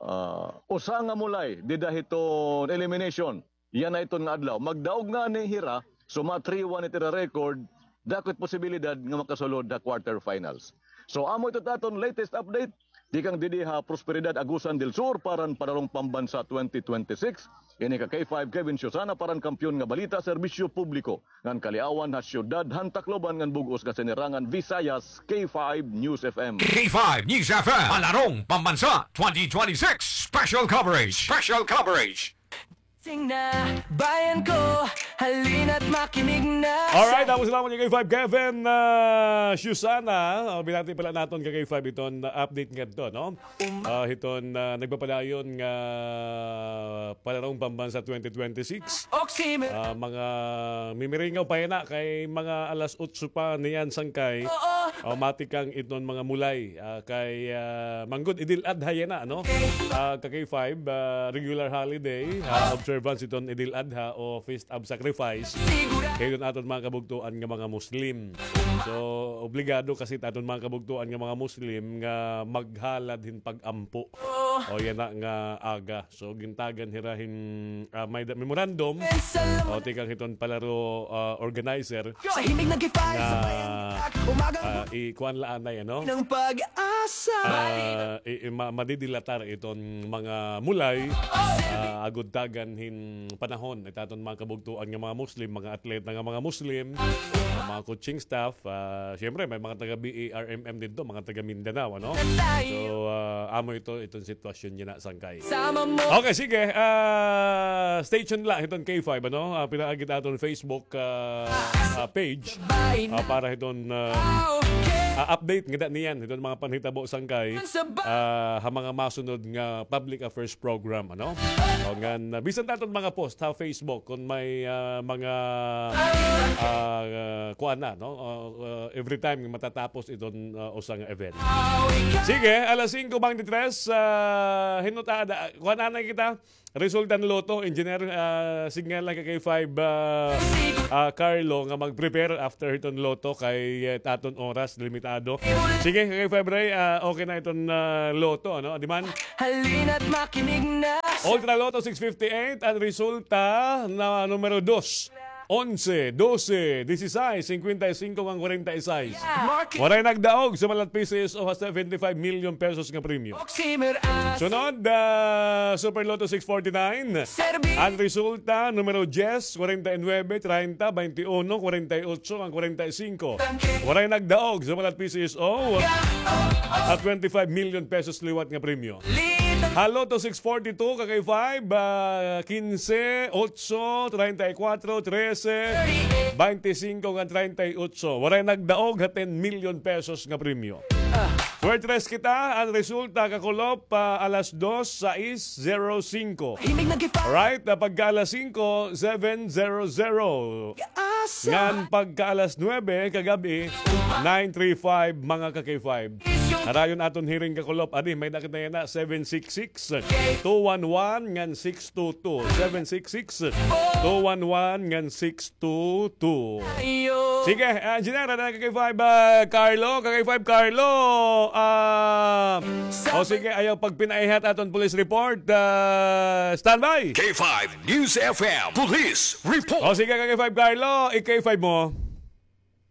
ah, usa nga mulay dida hiton elimination. Yana iton nga adlaw. Magdaog ngani hira, so ma-three one it ira record, dako it posibilidad nga makasulod ha quarterfinals. So, amo ito it aton latest update. Tikang didi ha Prosperidad, Agusan del Sur, para han Palarong Pambansa twenty twenty-six. Ini ka K five Kevin Susana para han Kampiyon nga Balita, Serbisyo Publiko, ngan kaliawan ha siyudad han Tacloban ngan bug-os nga sinirangan Visayas, K five News F M. K five News F M, Palarong Pambansa twenty twenty-six Special Coverage. Special Coverage. Sing na, bayan ko, halina't makinig na. Alright, tapos salamat kay K five Kevin, ah, Susana. Oh, binati pala naton ka K five iton, ah, update ngadto, no? Ah, hiton, ah, nagpapadayon nga Palarong Pambansa twenty twenty-six. Ah, mga mimiringaw pa yana kay mga alas otso pa niyan sangkay. Ah, matikang iton mga mulay. Ah, kay, ah, manggod Idil Adha yana, no? Ah, ka K five, ah, regular holiday, ah, observance iton Idil Adha o Feast of Sacrifice. Kay iton aton mga kabugtoan nga mga Muslim. So, obligado kasi it aton mga kabugtoan nga mga Muslim nga maghalad hin pag-ampo. O yana nga aga. So, gintagan hira hin, ah, may da-, memorandum. O, tikang hiton palaro, ah, organizer. Nga, ah, i-, kuan la anay, ano? Ah, i-, i-, ma-, madidilatar iton mga mulay, ah, agod tagan hin panahon. It aton mga kabugtoan nga mga Muslim, mga atleta nga mga Muslim, ah, mga coaching staff, ah, siyempre, may mga taga B A R M M didto, mga taga Mindanao, ano? So, ah, amo ito, iton sitwasyon yana sangkay. Okay, sige. Ah, stay tuned la hiton K five, ano? Ah, pinaagi it aton Facebook, ah, ah, page, ah, para hiton, ah, ah, update ngada niyan hiton mga panhitabo sangkay, ah, ha mga masunod nga public affairs program, ano? O, ngan, ah, bisan it aton mga post ha Facebook kon may, ah, mga, ah, kuan na, no? Ah, ah, every time nga matatapos iton, ah, usa nga event. Sige, alas singko bangti tres, ah, hinot-, ah, da-, kuan anay kita. Resulta han lotto, engineer, ah, signal la ka K five, ah, ah, Carlo nga mag-prepare after hiton lotto kay, eh, it aton oras limitado. Sige, ka K five Ray, ah, okay na iton, ah, lotto, ano? Di man? Halina't makinig na. Ultra Lotto six fifty-eight, an resulta na numero dos, onse, dose, disisais, singkwenta y singko ngan kwarenta y sais. Waray nagdaog sa Malat P C S O ha seventy-five million pesos nga premyo. Sunod, ah, Super Lotto six forty-nine. An resulta, numero dyes, kwarenta y nuebe, treinta, baynte uno, kwarenta y otso, ngan kwarenta y singko. Waray nagdaog sa Malat P C S O ha twenty-five million pesos liwat nga premyo. Ha Lotto six forty-two, ka K five, ah, kinse, otso, treinta y cuatro, trese, baynte singko, ngan treinta y otso. Waray nagdaog ha ten million pesos nga premyo. Swertres kita, an resulta, kakulop, ah, alas dos, sais, zero singko. Right, ah, pagka alas singko, seven zero zero. Ngan pagka alas nuebe kagab-i, nine three five, mga ka K five. Harayon aton hiring, kakulop. Adi, may dakit na yana, seven six six, two one one ngan six two two. Seven six six, two one one ngan six two two. Sige, ah, Engineer, ada ka K five, ah, Carlo, ka K five Carlo. Ah, o sige, ayaw pagpinaihat aton police report. Ah, standby. K five News F M Police Report. O sige, ka K five Carlo, i-K five mo.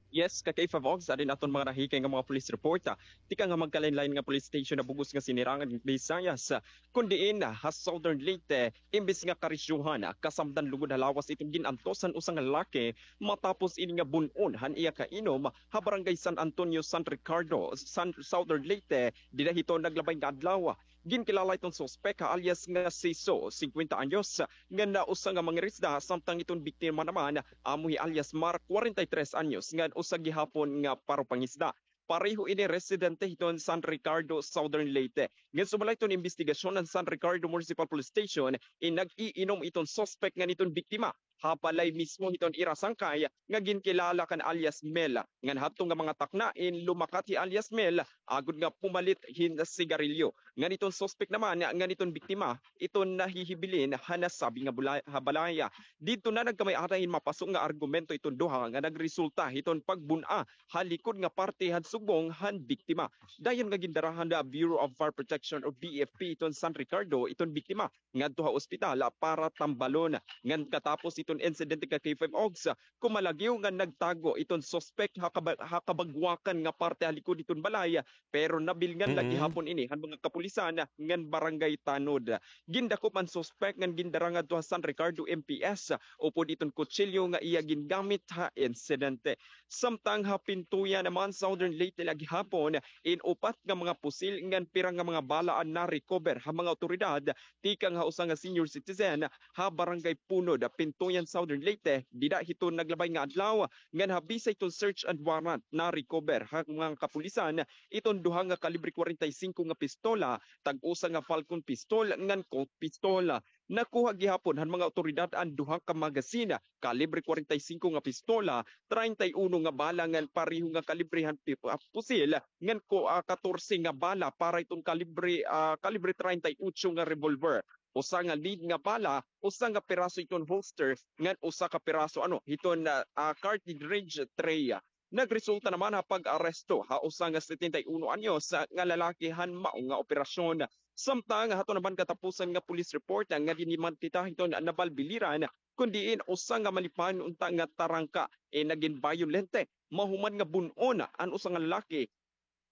Yes, ka K five Ogs, adin aton mga nahikay nga mga police report, ah. Tikang ha magkalain-lain nga police station ha bug-os nga sinirangan Visayas, ah, kun diin, ah, ha Southern Leyte, imbis nga karisyohan, ah, kasamdan lugod ha lawas iton gin-antos han usa nga lalaki matapos ini nga bun-on han iya kainom ha Barangay San Antonio, San Ricardo, San, Southern Leyte, dida hiton naglabay nga adlaw. Ginkilala iton suspek ha alias nga Siso, singkwenta anyos, ngan usa nga mangirisda, samtang iton biktima naman amo hi alias Mar, kwarenta y tres anyos, ngan usa gihapon nga paropangisda. Pareho ini residente hiton San Ricardo, Southern Leyte. Ngan sumala hiton imbestigasyon han San Ricardo Municipal Police Station, in nag-iinom iton suspek ngan iton biktima ha balay mismo hiton ira sangkay nga ginkilala kan alias Mel. Ngan hadto nga mga takna in lumakat hi alias Mel agod nga pumalit hin sigarilyo. Ngan iton suspek naman ngan iton biktima, iton nahihibilin ha nasabi nga bulay-, ha balay. Didto na nagkamay-ada hin mapaso nga argumento iton duha nga nagresulta hiton pagbun-a ha likod nga parte han sugbong han biktima. Dayon nga gindara han Bureau of Fire Protection o B F P iton San Ricardo iton biktima ngadto ha ospital para tambalon. Ngan katapos iton insidente ka K five Ogs, kumalagiw nga nagtago iton suspek ha kaba-, ha kabagwakan nga parte ha likod iton balay, pero nabilngan la gihapon ini han mga kapulisan ngan barangay tanod. Gindakop an suspek ngan gindara ngadto ha San Ricardo M P S upod iton kutsilyo nga iya gingamit ha insidente. Samtang ha Pintuya naman, Southern Leyte la gihapon, in upat nga mga pusil ngan pira nga mga bala an na-recover ha mga awtoridad tikang ha usa nga senior citizen ha Barangay Punod, Pintuyan, Southern Leyte, dida hiton naglabay nga adlaw, ngan ha bisa hiton search and warrant, na-recover ha mga kapulisan iton duha nga kalibre kwarenta y singko nga pistola, tag-usa nga Falcon pistol, ngan Colt pistol. Nakuha gihapon han mga awtoridad an duha ka magazine, kalibre kwarenta y singko nga pistola, treinta y uno nga bala ngan pareho nga kalibre han pi-, ah, pusil, ngan ko, ah, katorse nga bala para iton kalibre, ah, kalibre treinta y ocho nga revolver. Usa nga lead nga bala, usa nga piraso iton holster, ngan usa ka piraso, ano, hiton, ah, ah, cartridge tray. Nagresulta naman ha pag-aresto ha usa nga setenta y uno anyos, ah, nga lalaki han mao nga operasyon. Samtang hato naman katapusan nga police report, ah, nga dinhi man kita hiton Naval Biliran, kun diin usa nga malipayon unta nga tarangka, eh, nagin bayolente mahuman nga bun-on an usa nga lalaki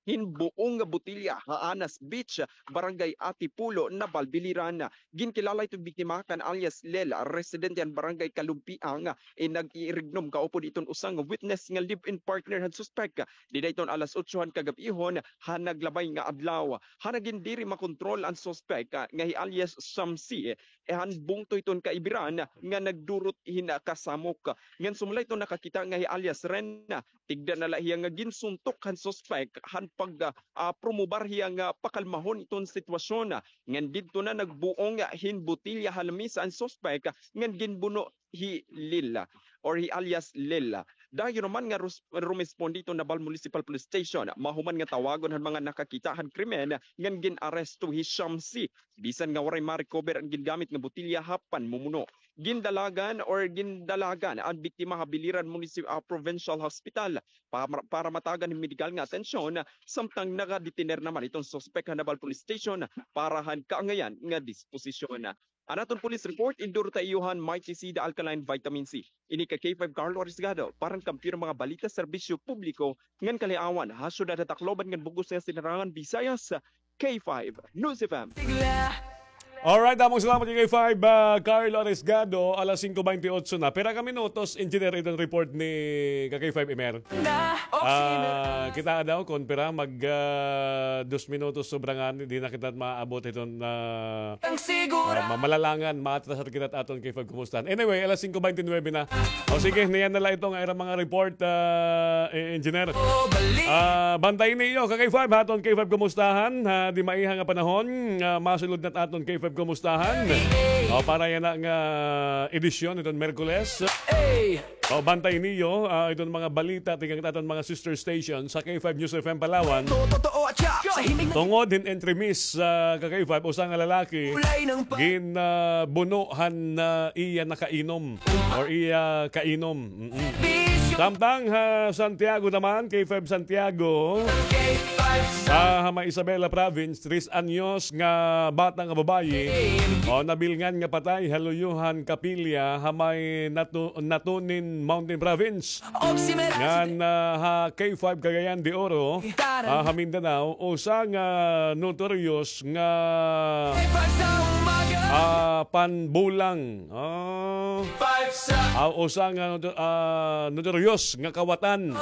hin buong nga botelya ha Anas Beach, Barangay Antipolo, Naval Biliran. Ginkilala iton biktima kan alias Lel, residente han Barangay Kalumpiang, in nag-iirignom kaupod iton usa nga witness nga live-in partner han suspek. Dida iton alas otso han kagab-ihon han naglabay nga adlaw. Han nagin diri makontrol an suspek, ah, nga hi alias Shamsi, eh, han bungto hiton kaibiran nga nagdurot hin kasamok. Ngan sumala iton nakakita nga hi alias Ren, tigda na la hiya nga ginsuntok han suspek han pag, ah, ah, promobar hiya nga pakalmahon iton sitwasyon. Ngan didto na nagbuong hin botelya ha lamisa an suspek ngan ginbuno hi Lila or hi alias Lila. Dayon naman nga rus-, rumesponde iton Naval Municipal Police Station, mahuman nga tawagon han mga nakakita han krimen ngan gin-aresto hi Shamsi, bisan nga waray ma-recover an gingamit nga botelya ha panmumuno. gindalagan or gindalagan an biktima ha Biliran Municip-, ah, Provincial Hospital pa-, para matagan hin medikal nga atensyon, samtang nakadetener naman iton suspek ha Naval Police Station para han kaangayan nga disposisyon. An aton police report, endorso ha iyo han Mighty C, the alkaline vitamin C. Ini ka K five Carlo Arriesgado, para han kampiyon nga mga balita, serbisyo publiko, ngan kaliawan, ha syudad han Tacloban ngan bug-os nga Sinirangan Visayas, K five News F M. Alright, damo nga salamat kay K five, ah, Carlo Arriesgado, alas singko baynte otso na. Pira ka minutos, Engineer, iton report ni ka K five Emer? Ah, kita daw kon pira mag, ah, dos minutos sobra ngani, di na kita maabot iton, ah, ah, ma-, malalangan, maatrasar kita aton K five Kumustahan. Anyway, alas singko baynte nuwebe na. O sige, niyan na la ito nga ira mga report, ah, eh, Engineer. Ah, bantay niyo, ka K five, ha aton K five Kumustahan, ha, di maiha nga panahon, ah, masulod na aton K five Kumustahan. O, para yana nga edisyon iton Miyerkules. O, bantay niyo, ah, iton mga balita tikang aton mga sister station sa K five News F M Palawan. Tungod hin entremis, ah, ka K five, usa nga lalaki gin, ah, buno han, ah, iya nakainom or iya kainom. Mm-mm. Samtang ha Santiago naman, K five Santiago, ah, ha may Isabela Province, tres anyos nga bata nga babayi, o, nabilngan nga patay ha luyo han kapilya ha may Natu-, Natunin Mountain Province. Ngan, ah, ha K five Cagayan de Oro, ah, ha Mindanao, usa nga notorious nga, ah, panbulang. Ah, ah, usa nga noto-, ah, notorious nga kawatan.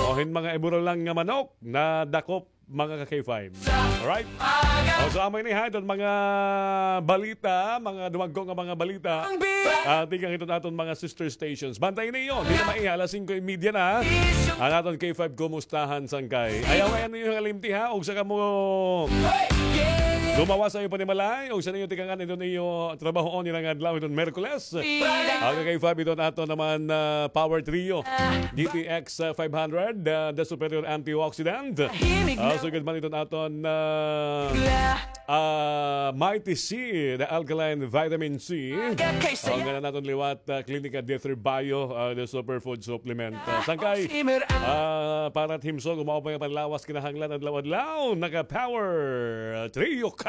O, hin mga iburulang nga manok nadakop mga ka K five. Alright? O, so, amo ini ha, iton mga balita, mga dumagko nga mga balita. Ah, tikang iton aton mga sister stations. Bantay niyo, di na maiha, alas singko y media na. An aton K five Kumustahan, sangkay. Ayaw nga niyo kalimti ha, og sa kamo gumawas sa iyo panimalay, og sa niyo tikangan iton iyo trabahoon nila nga adlaw iton Miyerkules. Ang ka K five iton aton naman, ah, Power Trio. D T X, ah, five hundred, ah, the superior antioxidant. Ah, sugad man iton aton, ah, ah, Mighty C, the alkaline vitamin C. Ang ngana naton liwat, ah, Klinika D three Bio, ah, the superfood supplement. Ah, sangkay, ah, para himsog, umaw pa nga panlawas kinahanglan adlaw-adlaw, naka Power Trio ka.